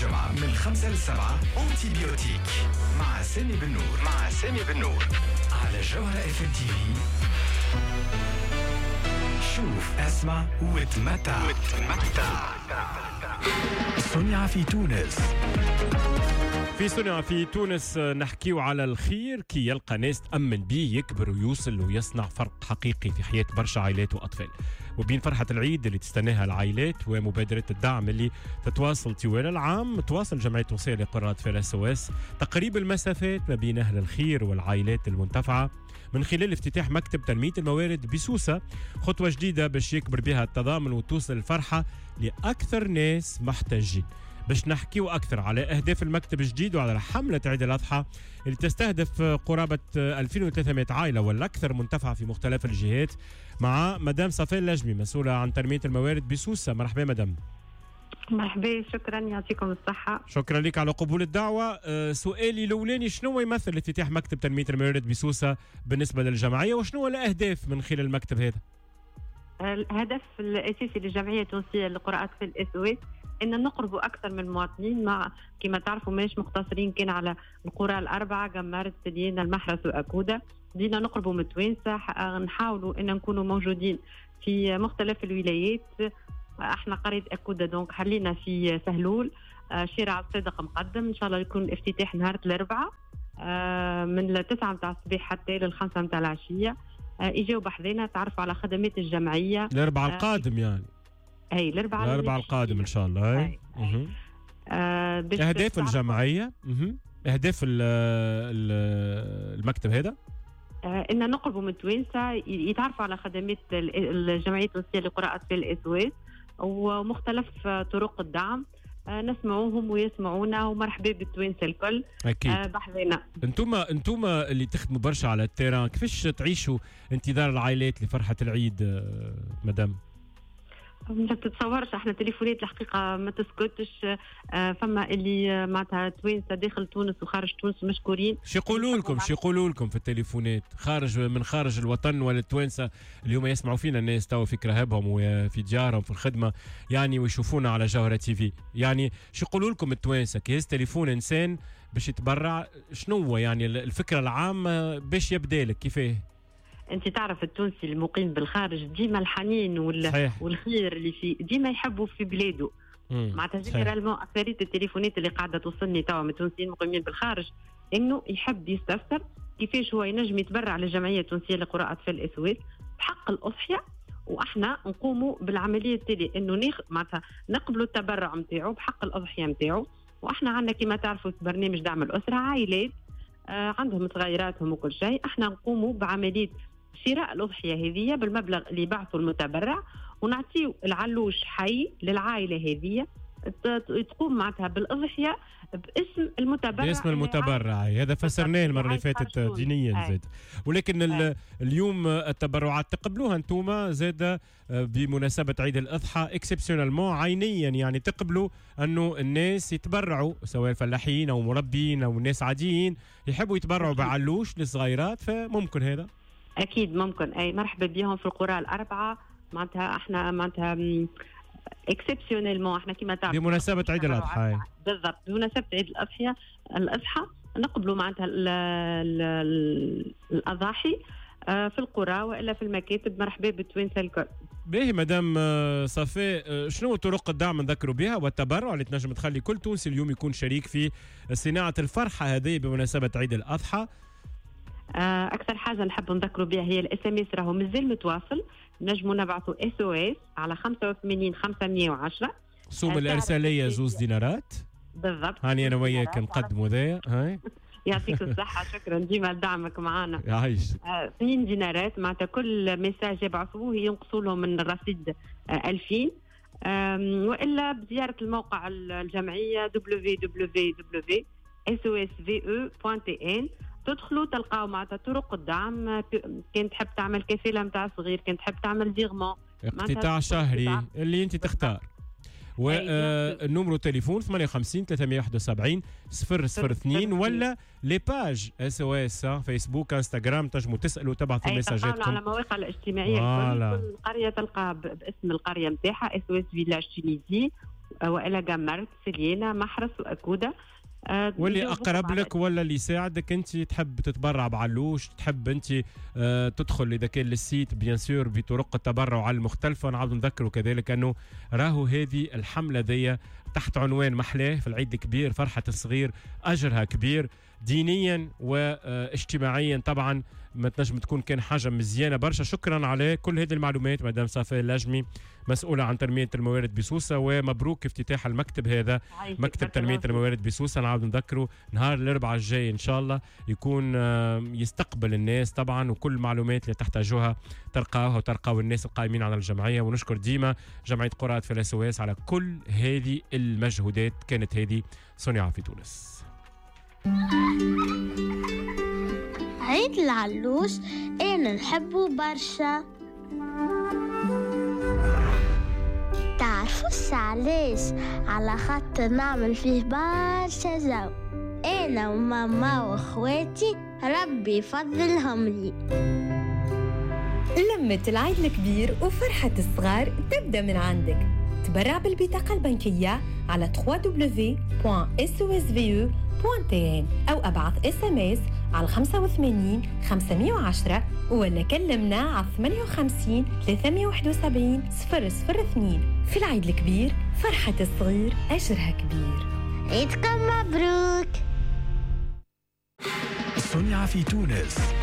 جمعة من 5 ل 7 antibiotique مع سامي بالنور، مع سامي بالنور على جوهرة اف ام تي في. شوف، اسمع وتمتع، وتمتع. صنع في تونس. في صنع في تونس نحكيو على الخير كي يلقى ناس تأمن بيه يكبر ويوصل ويصنع فرق حقيقي في حياة برشا عائلات وأطفال. وبين فرحة العيد اللي تستناها العائلات ومبادرة الدعم اللي تتواصل طوال العام، تواصل جمعية تونسية لقرى أطفال SOS تقريب المسافات ما بين أهل الخير والعائلات المنتفعة من خلال افتتاح مكتب تنمية الموارد بسوسة، خطوة جديدة باش يكبر بها التضامن وتوصل الفرحة لأكثر ناس محتاجين. باش نحكيو أكثر على أهداف المكتب الجديد وعلى حملة عيد الأضحى اللي تستهدف قرابة 2300 عائلة والأكثر منتفعة في مختلف الجهات، مع مدام صفاء اللجمي مسؤولة عن تنمية الموارد بسوسة. مرحبا مدام. مرحبا، شكرا، يعطيكم الصحة. شكرا لك على قبول الدعوة. سؤالي الأولاني، شنو يمثل افتتاح مكتب تنمية الموارد بسوسة بالنسبة للجمعية، وشنو الأهداف من خلال المكتب هذا؟ الهدف الأساسي للجمعية التونسية لقرى أطفال SOS ان نقربوا اكثر من المواطنين، مع كما تعرفوا ماش مقتصرين كان على القرى الاربعه، قمرت، سليانة، المحرس واكوده. بدينا نقربوا من التوانسه، نحاولوا ان نكونوا موجودين في مختلف الولايات. احنا قرية اكوده donc حلينا في سهلول، شارع الصادق مقدم. ان شاء الله يكون الافتتاح نهار الاربعاء من 9 نتاع الصباح حتى لل5 نتاع العشيه. اجاو بحذانا تعرفوا على خدمات الجمعيه. الاربعاء القادم يعني؟ اي، الاربعاء. الاربعاء القادم ان شاء الله. اي. اهداف الجمعيه، اهداف المكتب هذا؟ ان نقربوا من التوانسه يتعرفوا على خدمات الجمعية التونسية لقرى اطفال SOS ومختلف طرق الدعم. نسمعوهم ويسمعونا، ومرحبا بالتوانسه الكل. اكيد. بحذانا. انتم اللي تخدموا برشا على ال terrain، كيفاش تعيشوا انتظار العائلات لفرحه العيد مدام؟ ما تتصورش، احنا تليفونات الحقيقة ما تسكتش. فما اللي معناتها توانسة داخل تونس وخارج تونس مشكورين. شو يقولوا لكم؟ شو يقولوا لكم في التليفونات خارج من خارج الوطن ولا التوانسة اليوم يسمعوا فينا الناس توا في كراهبهم وفي ديارهم في الخدمة يعني ويشوفونا على جوهره تي في، يعني شو يقولوا لكم التوانسة كي يهز تليفون انسان باش يتبرع، شنو هو يعني الفكرة العامة باش يبدا لك كيفاه؟ انت تعرف التونسي المقيم بالخارج ديما الحنين والخير اللي في ديما يحبوا في بلاده. معناتها généralement اكثرية التليفونات اللي قاعدة توصلني توا من التونسيين المقيمين بالخارج انه يحب يستفسر كيفاش هو ينجم يتبرع للجمعية التونسية لقرى اطفال SOS بحق الاضحيه، واحنا نقوموا بالعملية التالية انه معناتها نقبلوا التبرع نتاعو بحق الاضحية نتاعو. واحنا عندنا كما تعرفوا في برنامج دعم الاسرة عائلات عندهم صغيراتهم وكل شيء، احنا نقوموا بعملية شراء الأضحية هذه بالمبلغ اللي بعثه المتبرع، ونعطيه العلوش حي للعائلة هذه تقوم معناتها بالأضحية باسم المتبرع. باسم المتبرع، هذا فسرناه المرة اللي فاتت دينيا زاد. ولكن اليوم التبرعات تقبلوها انتوما زاد بمناسبة عيد الأضحى exceptionnellement عينيا، يعني تقبلوا أنه الناس يتبرعوا سواء فلاحين أو مربين أو ناس عاديين يحبوا يتبرعوا بعلوش للصغيرات، فممكن هذا؟ اكيد ممكن، اي مرحبا بهم في القرى الاربعة. معناتها احنا معناتها exceptionnellement احنا كما تعرف بمناسبة عيد الاضحى. بالضبط، بمناسبة عيد الاضحى الاضحى نقبلوا معناتها الاضاحي في القرى والا في المكاتب. مرحبا بالتوانسه الكل. باهي مدام صفاء، شنو طرق الدعم نذكروا بها والتبرع اللي تنجم تخلي كل تونسي اليوم يكون شريك في صناعة الفرحة هذه بمناسبة عيد الاضحى؟ اكثر حاجة نحب نذكروا بها هي ال SMS، راهو مازال متواصل، نجموا نبعثوا SOS على 85 510. سوم الارسالية 2 دينارات بالضبط. هاني انا وياك نقدموا ذا. هاي يعطيك الصحة، شكرا ديما لدعمك معنا. يعيش. 2 دينارات معناتها كل message يبعثوه ينقصوا لهم من الرصيد 2000، والا بزيارة الموقع الجمعية www.sosve.tn تدخلوا تلقاو معناتها طرق الدعم. كان تحب تعمل كفالة نتاع صغير، كان تحب تعمل virement، اقتطاع شهري اللي انت تختار. و numéro تليفون 58 371 002 ولا les pages SOS فيسبوك انستغرام، تنجموا تسالوا تبعثوا ميساجاتكم على المواقع الاجتماعية. كل قرية تلقى باسم القرية نتاعها SOS Village Tunisie. والا قمرت، سليانه، محرس واكوده. واللي اقرب لك ولا اللي يساعدك. انت تحب تتبرع بعلوش، تحب انت تدخل اذا كان لل site bien sûr بطرق التبرع المختلفة. نعاود نذكروا كذلك انه راهو هذه الحملة ذي تحت عنوان محلاه في العيد الكبير، فرحه الصغير اجرها كبير دينيا واجتماعيا، طبعا ما تنجم تكون كان حاجة مزيانه برشا. شكرا على كل هذه المعلومات مدام صفاء اللاجمي، مسؤولة عن تنمية الموارد بسوسه، ومبروك افتتاح المكتب هذا، مكتب تنمية الموارد بسوسه. نعاود نذكره نهار الاربعاء الجاي ان شاء الله يكون يستقبل الناس طبعا، وكل المعلومات اللي تحتاجوها تلقاوها وتلقاو الناس القائمين على الجمعية. ونشكر ديما جمعية قراءة في الاسواس على كل هذه المجهودات. كانت هذه صنع في تونس. عيد العلوش أنا نحبه برشا. تعرفوش علاش؟ على خاطر نعمل فيه برشا جو أنا وماما وأخواتي، ربي يفضلهم لي. لمة العيد الكبير وفرحة الصغار تبدأ من عندك. تبرع بالبطاقة البنكية على www.sosve.tn أو أبعث SMS على 85 510 ولا كلمنا على 58 371 002. في العيد الكبير فرحة الصغير أجرها كبير. عيدكم مبروك. صنع في تونس.